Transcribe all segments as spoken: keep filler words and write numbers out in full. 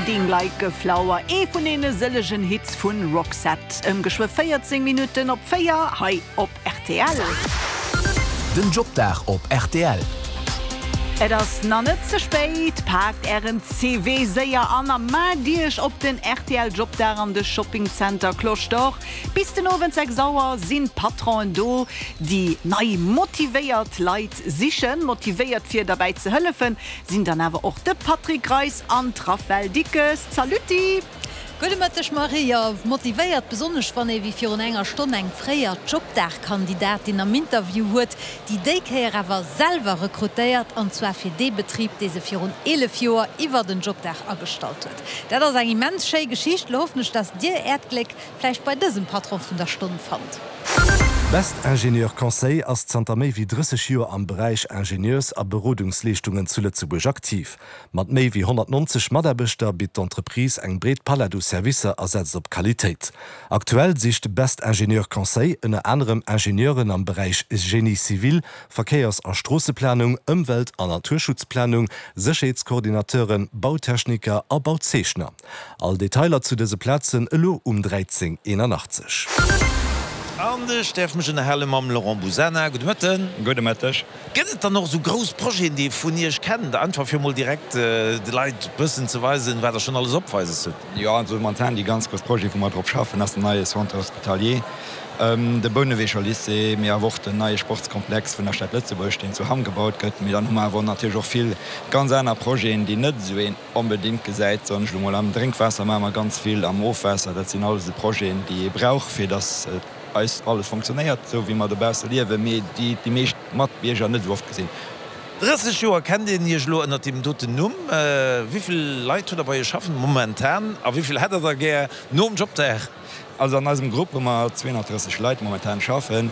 Fading Like a Flower, ee vun deene sëllegen Hits vun Roxette. Ëm geschwë véierzéng Minutten op véier hei op rtl. Den Jobdag op rtl. Et ass nach net ze spéit, paakt ären C V séier an a maacht iech op den R T L Jobdag an de Shopping Center Cloche d'Or. Bis den Owend sechs Auer sinn d'Patronen do, déi nei motivéiert Leit sichen. Motivéiert fir derbäi ze hëllefen, sinn dann awer och de Patrick Greis an d'Raphaëlle Dickes. Saluti! Gudde Mëtteg Marie, jo motivéiert, besonnesch wann ee wéi virun enger Stonn eng fréier Jobdag-Kandidatin am Interview huet, déi déi Kéier awer selwer rekrutéiert, an zwar fir dee Betrib, dee se virun eelef Joer iwwer den Jobdag agestallt huet. Dat ass eng immens schéi Geschicht. Lo hoffen ech, dass dir äert Gléck vläicht bei dësem Patron vun der Stonn fannt. Best Ingénieur Conseil ass zanter méi wéi drësseg Joer am Beräich Ingenieurs a Berodungsleeschtungen zu Lëtzebuerg aktiv. Mat méi wéi honnertnonzeg Mataarbechter bitt d'Entreprise eng breet Palett u Servicer a setzt op Qualitéit. Aktuell sicht Best Ingénieur Conseil ënner anerem Ingenieuren am Beräich Génie civil, Verkéiers a Stroosseplanung, Ëmwelt an Naturschutzplanung, Sécherheetskoordinateuren, Bautechniker a Bauzeechner. All Detailer zu dëse Plazen elo um dräizéng eenanachtzeg. An ech däerf mech ënnerhale mam Laurent Busana. Gudde Mëtten. Gudde Mëtteg. Gëtt et dann och esou grouss Projeten, déi ee vun Iech kennt, einfach fir mol direkt de Leit bëssen ze weisen, wat Der schonn alles opweises hutt? Jo, also momentan déi ganz grouss Projete wou mer drop schaffen, ass den neie Centre hospitalier, de Bouneweger Lycée, mee awer och den neie Sportskomplex vun der Stad Lëtzebuerg, deen zu Hamm gebaut gëtt. Mee dann hu mer awer natierlech och vill ganz aner Projeten, déi net esou een onbedéngt gesäit, soen ech elo mol. Am Drénkwaasser maache mer ganz vill, am Ofwaasser, dat sinn alles esou Projeten, déi ee brauch, fir datt eis alles fonctionnéiert, esou wéi mer dobausse liewen, mee déi déi meescht Matbierger net esou oft gesinn. Drësseg Joer kennt een Iech elo ënnert deem doten Numm. Wéi vill Leit hutt Der bei Iech schaffen momentan a wéi vill hätt Der der gär nom Jobdag? Also an eisem Grupp hu mer zweehonnertdrësseg Leit momentan schaffen.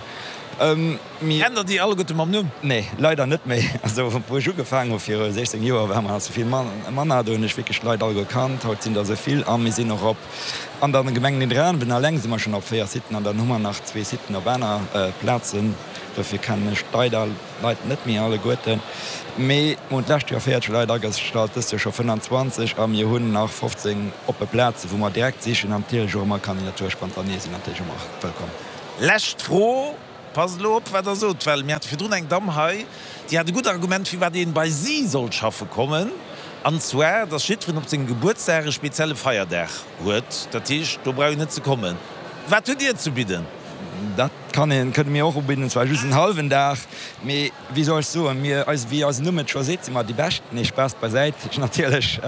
Mir. Kennt Der déi alleguerte mam Numm? Nee, leider net méi. Also wou ech ugefaangen hu viru sechzéng Joer, ware mer nach sou vill manner. Do hunn ech wierklech d'Leit all gekannt. Haut sinn der sou vill a mir sinn och op an der Gemeng Nidderaanwen eleng si mer schonn op véier Siten an dann hu mer nach zwee Siten op aner Plazen. Dofir kennen ech d'Leit Leit net méi alleguerten. Mee mir hunn d'lescht Joer véierzeg Leit agestallt, dëst Joer scho fënnanzwanzeg a mir hunn nach fofzéng oppe Plazen, wou mer direkt sichen. An natierlech och ëmmer Candidature spontanée sinn natierlech ëmmer wëllkomm. Lescht Fro, Passt elo op, wat Der sot, well mir hate virdrun eng Damm hei, déi hat e gutt Argument, firwat een bei si sollt schaffe kommen, an zwar, dass jiddwereen op sengem Gebuertsdag e spezielle Feierdag huet. Dat heescht, do brauch een net ze kommen. Wat hutt Dir ze bidden? Dat kann een, kënne mir och ubidden, zwar just en hallwen Dag, mee wéi soll ech soen, mir, eis, wéi eisen Numm et scho seet, si mer déi Bescht. Nee, Spaass beisäit natierlech.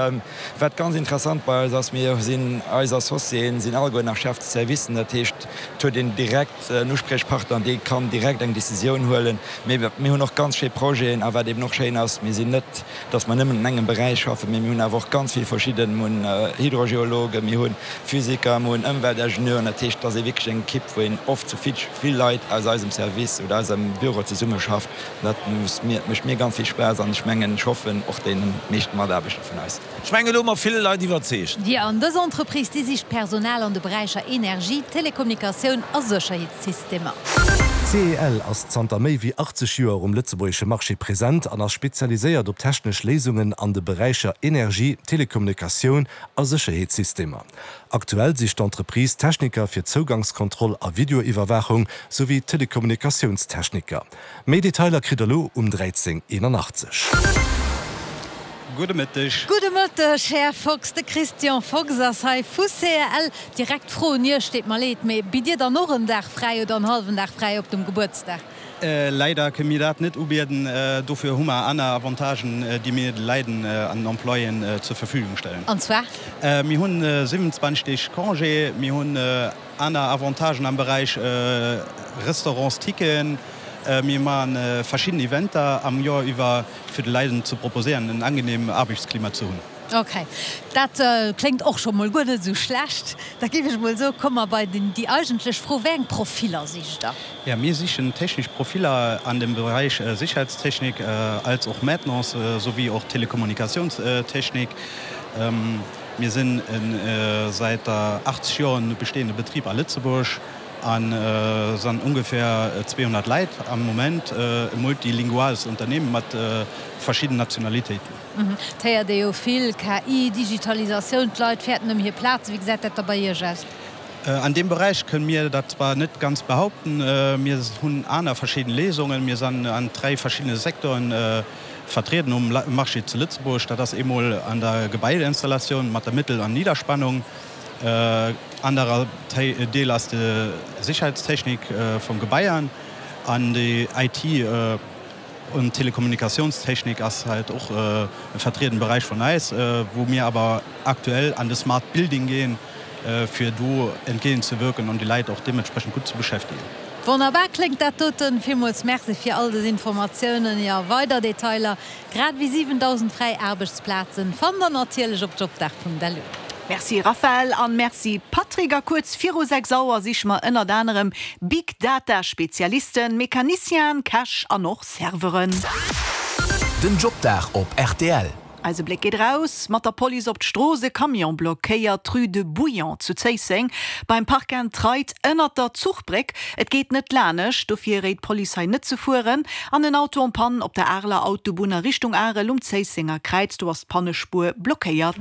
Wat ganz interessant bei eis ass, mir sinn, eis Associéen sinn alleguer nach Chef de servicen, dat heescht, et huet een direkt en Uspriechpartner, dee kann direkt eng Decisioun huelen. Mee mir hunn och ganz schéi Projeten. A wat eben och schéin ass, mir sinn net, datt mer nëmmen an engem Beräich schaffen, mee mir hunn awer och ganz vill verschidden, mir hunn Hydrogeologen, mir hu Physiker, mir hunn Ëmweltingenieuren. Dat heescht, et ass ee wierklech eng Ekipp, wou een oft zu vill, vill Leit aus eisem Service oder aus eisem Büro zesummeschafft. Dat mécht mir ganz vill Spaass an ech mengen, ech hoffen och deene meeschten Mataarbechter vun eis. Ech mengen, elo hu mer vill Leit iwwerzeegt. Jo, an dës Entreprise, déi sicht Personal an de Beräicher Energie, Telekommunikatioun a Sécherheetssystemer. C E L ass zanter méi wéi achtzeg Joer um lëtzebuergesche Marché present an ass spezialiséiert op technesch Léisungen an de Beräicher Energie, Telekommunikatioun a Sécherheetssystemer. Aktuell sicht d'Entreprise Techniker fir Zougangskontroll a Videoiwwerwaachung souwéi Telekommunikatiounstechniker. Méi Detailer kritt der elo um dräizéng eenanachtzeg. Gudde Mëtteg. Gudde Mëtteg, Här Fox. De Christian Fox ass hei vu C E L. Direkt d'Fro un Iech, deet mer leed, mee bitt Dir dann och en Dag fräi oder en hallwen Dag fräi op dem Gebuertsdag? Leider kënne mir dat net ubieden. Dofir hu mer aner Avantagen, déi mir de Läiden an den Employéen zur Verfügung stellen. An zwar? Mir hunn siwenundzwanzeg Deeg Congé, mir hunn aner Avantagen am Beräich Restaurantsticken, mir maache verschidden Eventer am Joer iwwer, fir de Läiden ze proposéieren, en angenehm Aarbechtsklima ze hunn. Ok, dat kléngt och scho mol guer net esou schlecht. Da géif ech mol soen, komme mer bei déi eigentlech Fro, Wéi eng Profiller sicht Der? Jo, mir sichen technesch Profiller an dem Beräich Sicherheitstechnik als och Maintenance souwéi och Telekommunikationstechnik. Mir sinn e säit achtzeg Joren bestehende Betrib a Lëtzebuerg An san ungefähr zweehonnert Leit am Moment, e multilinguales Unternehmen mat verschidden Nationalitéiten. Et héiert ee jo vill, K I, Digitalisatioun, d'Leit fäerten ëm hir Plazen. Wéi gesäit dat da bei Iech aus? An deem Beräich kënne mir dat zwar net ganz behaupten. Mir hunn aner verschidden Léisungen. Mir san an dräi verschiddene Secteuren vertrieden um Marché zu Lëtzebuerg. Dat ass eemol an der Gebaieinstallatioun mat der Mëttel an Niederspannung. Anerer Deel ass de Sicherheitstechnik vum Gebaiern an déi I T und Telekommunikationstechnik ass halt och e vertrieden Beräich vun eis, wou mir awer aktuell an de Smart Building ginn, fir do entgéint ze wierken an déi Leit och deementsprechend gutt ze beschäftegen. Wonnerbar kléngt dat doten. Villmools Merci fir all des Informatiounen. Jo, weider Detailer, grad ewéi siwendausend fräi Aarbechtsplazen, fannt der natierlech op jobdag Punkt L U. Merci Raphaël an Merci Patrick. A kuerz viru sechs Auer siche mer ënnert anerem Big Data Spezialisten, Mecanicienen, Käch an och Serveuren. Den Jobdag op R T L. Eise Bléck geet raus mat der Police op d'Strooss. E Camion blockéiert d'Rue de Bouillon zu Zéisseng beim Park and Ride ënnert der Zuchbréck. Et geet net lanescht, dofir réit d'Police hei net ze fueren. An en Auto en panne op der Areler Autobunn a Richtung Arel um Zéissenger Kräiz, do ass d'Pannespuer blockéiert.